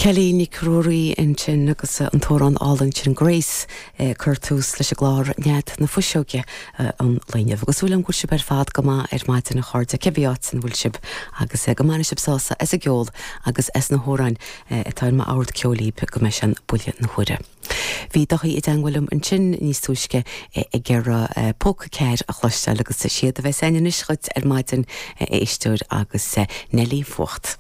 Kelly Nic Ruairí ansin agus an t-amhrán álainn sin Grace ag cur tús leis an gclár Nead na Fuiseoige an lae inniu. Agus súil agam go bhfuil sibh ar fad go maith ar maidin a chairde, cibé áit ina bhfuil sibh agus go mbainfidh sibh sásamh as an gceol agus as na hamhráin atá ar m'ord ceoil daoibh go mbeidh sé an buille na huaire. Bhí Daithí i dteangmháil liom ansin níos túisce ag iarraidh Póca Cear a chloisteáil agus is iad a bheas againn anois dhuit ar maidin, a éisteoir, agus Neilí Fuacht.